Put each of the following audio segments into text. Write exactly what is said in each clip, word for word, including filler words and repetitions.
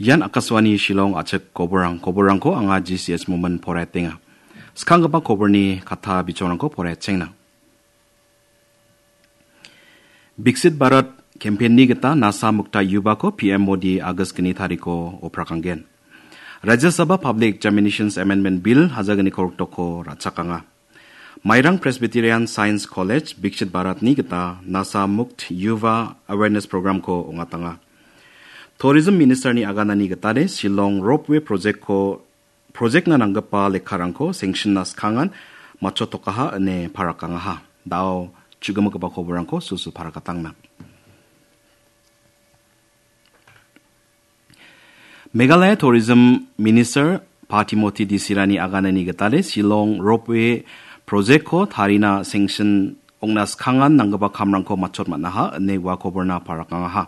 Ian Akashvani Shillong a·chik koborang, koborangko anga G C S Momin poraiatenga. Skanggipa koborni katta bichongrangko poraiatchengna. Viksit Bharat campaign-ni gita Nasha Mukta Yuvako P M Modi August gni tariko oprakanggen. Rajya Sabha Public Examinations Amendment Bill hajar gni korok doko ra·chakanga. Mairang Presbyterian Science College Viksit Bharat-ni gita Nasha Mukt Yuva Awareness Program-ko ong·atanga. Tourism Minister-ni aganani gitade Shillong Ropeway Project-ko, project-na nanggipa lekkarangko sanction-na skangan matchotokaha ine parakangaha. Da·o chugimikgipa koborangko sulsul parakatangna. Meghalaya Tourism Minister Pa Timothy Disirani aganani gitade Shillong Ropeway Project-ko tarina sanction ong·na skangan nanggipa kamrangko matchot man·aha ine ua koborna parakangaha.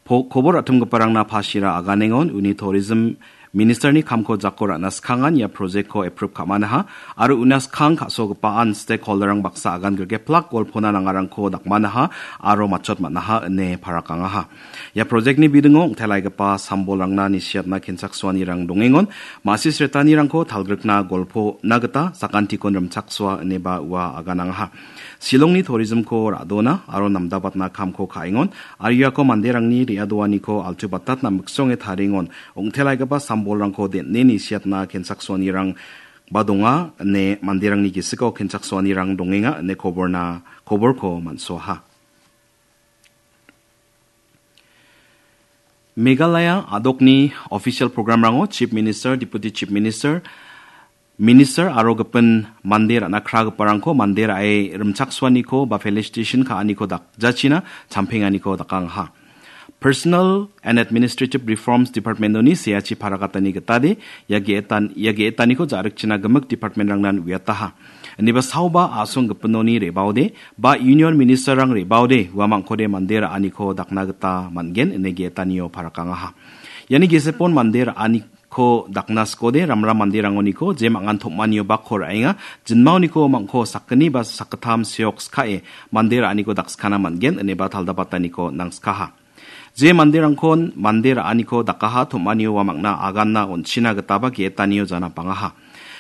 Po-, kobor atimgiparangna Pashira aganengon uni Tourism Minister-ni kamko jako ra·na skangan ia project-ko approve ka·manaha aro una skang ka·sogipaan stakeholder-rang baksa agan grike plak golpona nangarangko dakmanaha aro matchot man·aha ine parakangaha. Ia project-ni bidingo ong·telaigipa sambolrangna nisiatna kenchaksoanirang dongengon, ma·sis retanirangko talgrikna golpona gita sakantikon rimchaksoa ineba ua aganangaha. Shillongni tourism-ko ra·dona aro namdabatna kamko ka·engon, aro iako manderangni re·adoaniko altubatatna miksonge tarengon, ong·telaigipa sambolrangko den·e nisiatna kenchaksoanirang ba donga ine manderangni gisiko kenchaksoanirang dongenga ine koborna, koborko man·soaha. Meghalaya a·dokni official program-rango Chief Minister, Deputy Chief Minister, Minister aro gipin mande ra·na kragiparangko mande ra·e rimchaksoaniko ba felicitation ka·aniko dakjachina champenganiko dakangaha. Personal and Administrative Reforms Department-oni seachi parakatani gitade ia ge·etan-, ia ge·etaniko ja·rikchina gimik department-rangnan uiataha. Ineba saoba a·song gipinoni re·baode ba Union Minister-rang re·baode uamangkode mande ra·aniko dakna gita man·gen ine ge·etanio parakangaha. Iani gesepon mande ra·ani ko dakna skode ramram manderangoniko je mangan tom·anio bakko ra·enga, jinmaoniko mangko sakgni ba sakgittam seok skae mande ra·aniko dakskana man·gen ineba taldabataniko nangskaha. Je manderangkon mande ra·aniko dakaha tom·anio uamangna aganna on·china gitaba ge·etanio jana pangaha.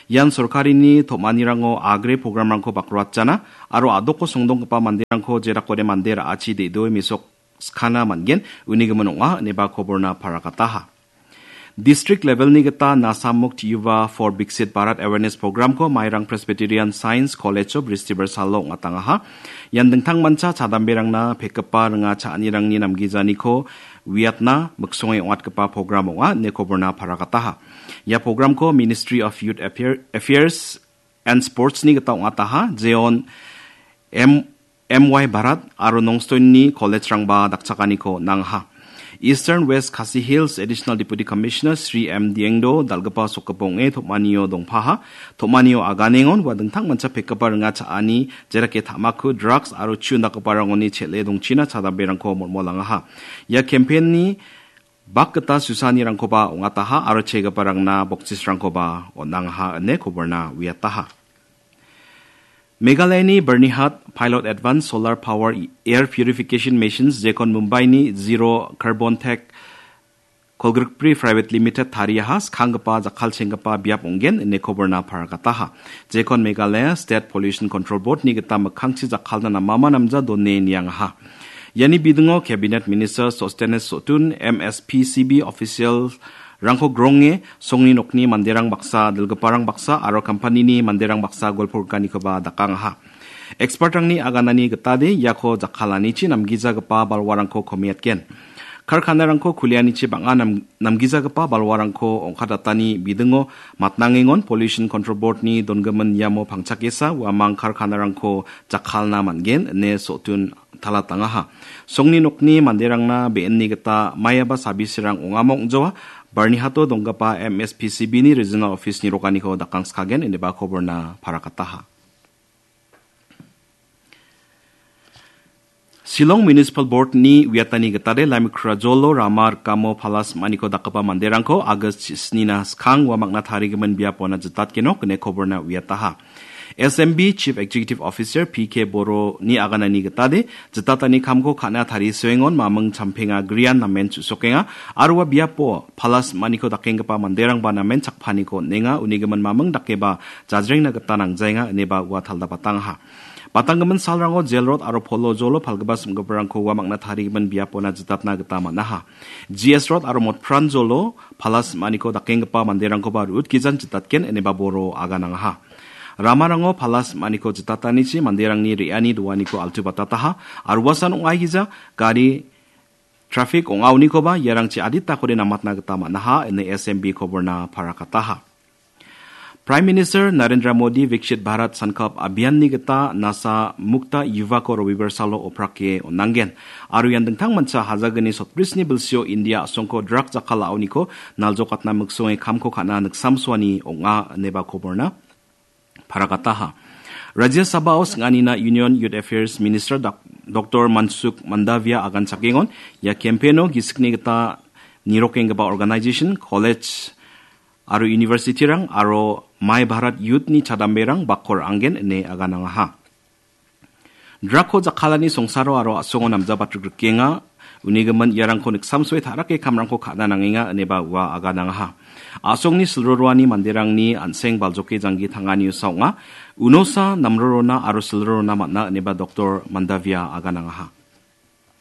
Ian sorkarini tom·anirango agre programrangko bakroatjana aro a·doko songdonggipa manderangko jerakode mande ra·achi de·doe mesok skana man·gen, uni gimin ong·a ineba koborna parakataha. District level-ni gita Nasha Mukt Yuva for Viksit Bharat Awareness Program-ko Mairang Presbyterian Science College-o Bristibar salo ong·atangaha. Ian dingtangmancha chadamberangna pekgipa ringa cha·anirangni namgijaniko uiatna miksonge ong·atgipa program ong·a ine koborna parakataha. Ia program-ko Ministry of Youth Affair-, Affairs and Sports-ni gita ong·ataha, jeon M-, M Y Bharat aro Nongstoin-ni college-rangba dakchakaniko nangaha. Eastern West Khasi Hills Additional Deputy Commissioner Shri M Diengdo dal·gipa sokgipa ong·e tom·anio dongpaha. Tom·anio aganengon ua dingtangmancha pekgipa ringa cha·ani, jerake tamaku, drugs aro chu indakgiparangoni chel·e dongchina chadamberangko molmolangaha. Ia campaign-ni bakgita susanirangkoba ong·ataha aro chegiparangna boksisrangkoba on·angaha ine koborna uiataha. Meghalayani Byrnihat Pilot Advanced Solar Power Air Purification Machines jekon Mumbaini Zero Carbon Tech kolgrikbri Private Limited tariaha skanggipa jakkalchenggipa biap ong·gen ine koborna parakataha. Jekon Meghalaya State Pollution Control Board-ni gita mikkangchi jakkalna namama namja done niangaha. Iani bidingo Cabinet Minister Sostennes Sotun, M S P C B official-rangko gronge, songni nokni manderang baksa, dilgiparang baksa aro kampanini manderang baksa golporikanikoba dakangaha. Expert-rangni aganani gitade iako jakkalanichi namgijagipa balwarangko komiatgen. Karkanarangko kulianichi bang·a nam-, namgijagipa balwarangko ong·katatani bidingo matnangengon Pollution Control Board-ni dongimin iamo pangchakesa uamang karkanarangko jakkalna man·gen ine Sotun talatangaha. Songni nokni manderangna be·enni gita maiaba sabisirang ong·ama ong·joa, Byrnihato donggipa M S P C B-ni regional office-ni rokaniko dakangskagen ineba koborna parakataha. Shillong Municipal Board-ni uiatani gitade Laimekhura Jolo rama rikamo palas maniko dakgipa manderangko August snina skang uamangna tarigimin biapona jitatgenok ine koborna uiataha. S M B Chief Executive Officer P K Boroni aganani gitade, jitatani kamko ka·na tarisoengon maming champenga grian namen chu·sokenga, aro ua biapo palas maniko dakenggipa manderangba namen chakpaniko on·enga, unigimin maming dakeba jajrengna gita nangjaenga, ineba ua taldapatangaha. Batanggimin salrango Jail Road aro Polo Jolo palgipa sim·giparangko ua mangna tarigimin biapona jitatna gita man·aha. G S Road aro Motpran Jolo palas maniko dakenggipa manderangkoba ru·utgijan jitatgen, ineba Boro aganangaha. Ramarango palas maniko jitatanichi manderangni re·ani doaniko altu batataha, aro uasan ong·aigija gari trafik ong·aonikoba iarangchi aditakode namatna gita man·aha, ine S M B koborna parakataha. Prime Minister Narendra Modi Viksit Bharat Sankalp Abhiyanni gita Nasa Mukta Yuvako Robibar salo oprake on·angen. Aro ian dingtangmancha hajagni sotbrisni bilsio India a·songko drug jakal a·oniko naljokatna miksonge kamko ka·na niksamsoani ong·a, ineba koborna parakataha. Rajya Sabhao sing·anina Union Youth Affairs Minister Dak-, Doktor Mansukh Mandavia agan chakengon, ia campaign-o gisikni gita nirokenggipa organization, college aro university-rang aro My Bharat Youth-ni chadamberang bakko ra·angen ine aganangaha. Drug-ko jakkalani songsaro aro a·songo namjabatrikrikenga. Unigimin iarangko niksamsoe ta·rake kamrangko ka·na nangenga, ineba ua aganangaha. A·songni silroroani manderangni an·seng baljoke janggi tangani usa ong·a. Unosa namrorona aro silrorona man·a, ineba Doktor Mandavia aganangaha.